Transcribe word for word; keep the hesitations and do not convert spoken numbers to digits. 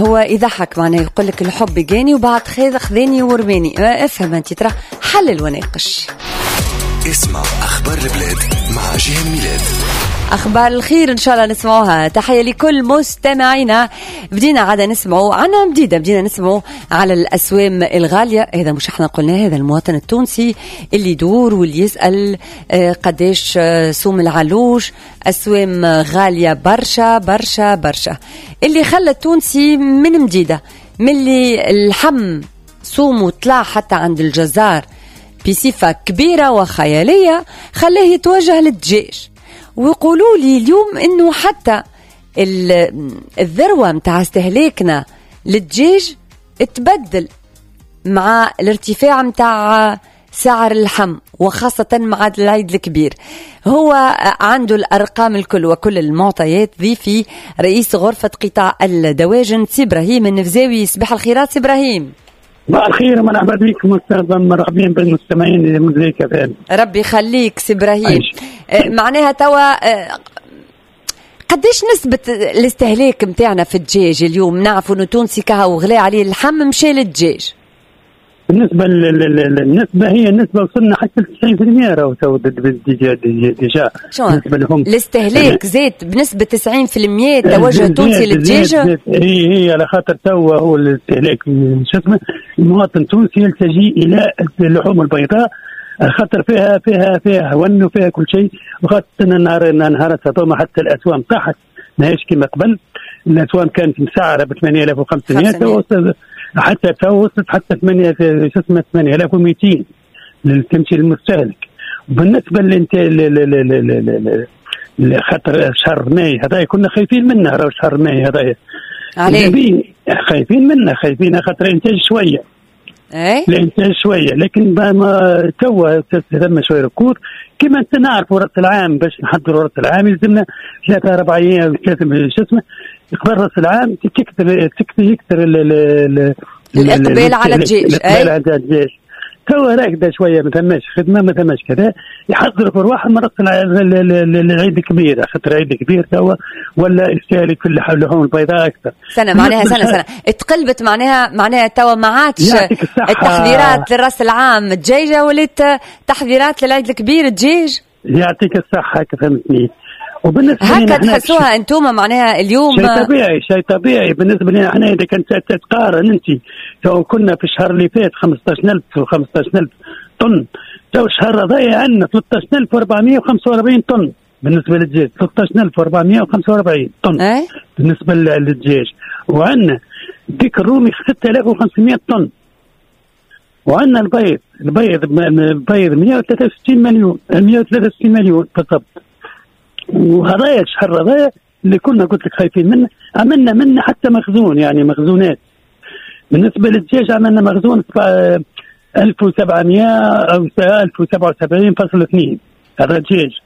هو يضحك، معناه يقول لك الحب جاني وبعد خذ خذاني ورماني. افهم انت ترى، حلل وناقش. اسمع اخبار البلاد مع جيهان ميلاد. أخبار الخير إن شاء الله نسمعوها. تحية لكل مستمعينا. بدينا عادة نسمعوا عنا مديدة، بدينا نسمعوا على الأسوام الغالية. هذا مش احنا قلنا، هذا المواطن التونسي اللي يدور واللي يسأل آه، قداش آه، سوم العلوش، أسوام غالية برشا برشا برشا، اللي خلى التونسي من مديدة من اللي اللحم سومه طلع حتى عند الجزار بصفة كبيرة وخيالية، خلاه يتوجه للدجاج. ويقولوا لي اليوم انه حتى الذروة متاع استهلاكنا للدجاج تبدل مع الارتفاع متاع سعر اللحم، وخاصة مع العيد الكبير. هو عنده الأرقام الكل وكل المعطيات. ضيفي رئيس غرفة قطاع الدواجن سي إبراهيم النفزاوي. صباح الخيرات سي إبراهيم. صباح الخير، مرحبا بكم، مرحبا بالمستمعين لموزاييك اف ام. ربي يخليك سي ابراهيم. آه، معناها توا آه، قديش نسبة الاستهلاك نتاعنا في الدجاج اليوم؟ نعرفوا انه تونسي كهو غلا عليه اللحم مشى للدجاج. بالنسبة للنسبة، هي النسبة وصلنا حتى تسعين في المية راهو تو déjà déjà. شو بالنسبة لهم الاستهلاك زاد بنسبة تسعين في المية، التوجه التونسي للدجاج؟ هي هي على خاطر توا هو الاستهلاك، شو اسمه، المواطن التونسي يلتجي الى اللحوم البيضاء خاطر فيها فيها فيها هون وفيها كل شيء، وخاصة النهار نهارات هذوما حتى الاسوام طاحت، ماهيش كما قبل. الاسوام كانت مسعره ب ثمانية آلاف وخمسمية، حتى تو وصلت حتى ثمانية، شو اسمه، ثمانية آلاف ومئتين تمشي للمستهلك. وبالنسبة للانتاج، خاطر شهر ماي هذا كنا خايفين منه، راهو شهر ماي هذايا عليه خايفين منه، خايفين خاطر الانتاج شويه. اي الانتاج شويه، لكن ما توا ثم شوية ركود. كما انت نعرفوا راس العام، باش نحضروا راس العام يلزمنا ثلاثة اربع ايام، ثلاثه، شو اسمه، قبل راس العام تكثر تكثر يكثر الاقبال على الدجاج. الاقبال على الدجاج. توا راكده شويه، ما ثماش خدمه، ما ثماش كذا، يحضروا في رواحهم راس العيد الكبير، خاطر العيد الكبير توا ولا يستهلك في اللحوم البيضاء اكثر. سنة معناها سنة سنة اتقلبت، معناها معناها توا ما عادش التحضيرات للراس العام دجاجه، ولات تحضيرات للعيد الكبير دجاج. يعطيك الصحه، فهمتني. وبالنسبة هكا تحسوها انتم معناها اليوم؟ شيء طبيعي، شيء طبيعي. بالنسبة لنا احنا، اذا كنت تقارن انت، تو كنا في الشهر اللي فات خمسطاش ألف و خمسطاش ألف طن، تو الشهر هذايا عندنا ثلاثطاش ألف وأربعمية وخمسة وأربعين طن بالنسبة للدجاج، ثلاثطاش ألف وأربعمية وخمسة وأربعين طن أي؟ بالنسبة للدجاج. وعندنا ديك الرومي ستة آلاف وخمسمية طن، وعندنا البيض البيض البيض مية وثلاثة وستين مليون، مية وثلاثة وستين مليون بالضبط. وهذايا الشهر هذايا اللي كنا قلت لك خايفين منه، عملنا منه حتى مخزون، يعني مخزونات. بالنسبة للدجاج عملنا مخزون ألف وسبعمية او ألف وسبعة وسبعين فاصل اثنين، هذا الدجاج.